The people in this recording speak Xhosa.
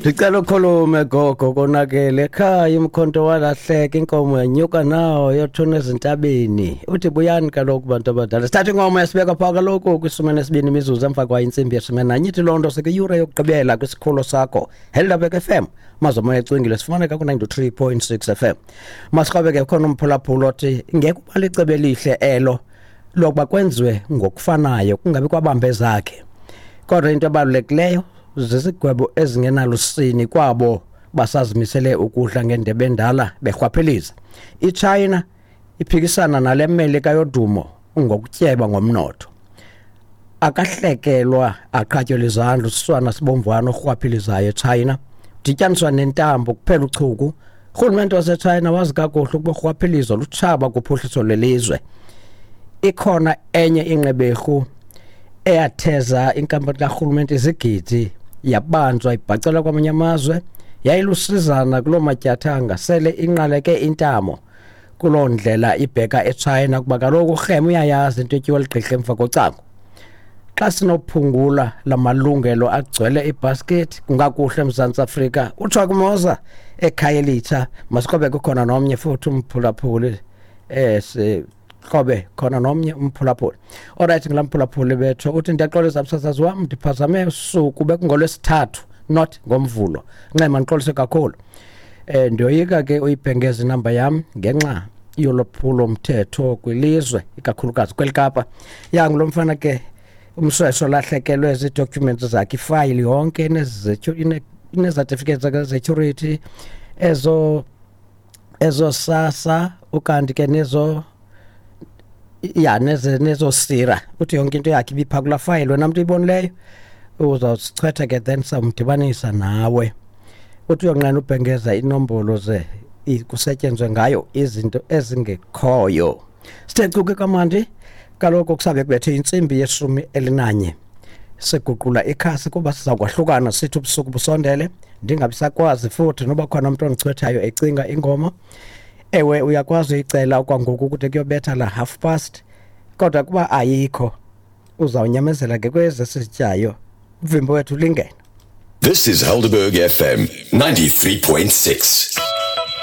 Ndicela ukhulume gogo, konakele ekhaya, umkhonto walahleka, inkomo yanyuka nawo yotshona ezintabeni. Uthi buyani kaloku bantu abadala, sithatha ingoma yasibeka phaa kaloku kwi-12 imizuzu emva kwayo intsimbi ye-11. Ithi loo nto sekwiyure yokugqibela kwisikhululo sakho Helderberg FM. Mazomoya ecwengile sifumaneka ku-93.6 FM. Masiqabe ke, khona umphulaphula othi ngeke uba licebo elihle elo lokuba kwenziwe ngokufanayo, kungabi kwabambe zakhe, kodwa into ebalulekileyo zizigwebo ezingenalusini kwabo basazimisele ukudla ngendebe endala berhwaphiliza. IChina iphikisana nale Melika yodumo ngokutyeba ngomnotho. Akahlekelwa aqhatyelwa izandla usiswana sibomvana orhwaphilizayo eChina, dityaniswa nentambo kuphela uchuku. Urhulumente waseChina wazi kakuhle ukuba urhwaphilizo lutshaba kuphuhliso lelizwe. Ikhona enye inqeberhu eyatheza inkampani karhulumente izigidi, yabanjwa ibhacelwa kwamanye amazwe, yayilusizana kuloo matyathanga, sele inqaleke intamo kuloo ndlela ibheka eChina, kuba kaloku urheme uyayazi into etyiwa ligqirha emva kocango. Xa sinophungula la malungelo agcwele ibhaskethi kungakuhle eMzantsi Afrika, utsho kumoza ekhaya elitsha. Masiqobe kukhona nomnye futhi umphulaphuli, siqobe khona nomnye umphulaphuli. Alright, ngulaa mphulaphuli betho uthi, "Ndiyaxolisa msasazi wam, ndiphazame usuku, bekungolwesithathu not ngoMvulo. Ncema, ndixolise kakhulu. Ndiyoyika ke uyibhengeza inamba yam ngenxa yolwaphulo mthetho kwilizwe, ikakhulukazi kweli Kapa." Yangulo mfana ke umswesho lahlekelwe zii-documents zakhe, ifayili yonke inee-certificates zakhe-security ezo SASSA, ukanti ke nezo ya neze nezosira. Uthi yonke into yakhe ibiphaa kulaa fayili. Wena mntu uyibonileyo uzawusichwetha ke, then samdibanisa nawe. Uthi uyonqena ubhengeza inombolo ze kusetyenzwe ngayo izinto ezingekhoyo. Sithe cuke kamandi kaloku, kusabe kubethe intsimbi ye-11. Siguqula ikhasi kuba siza kwahlukana, sithi ubusuku busondele, ndingabi sakwazi futhi noba khona umntu ondichwethayo ecinga ingoma. Ewe, uyakwazi uyicela okwangoku kude kuyobetha la half past, kodwa kuba ayikho uzawunyamezela ke kwezi sizityayo. Uvimbo wethu lingena. This is Helderberg FM 93.6.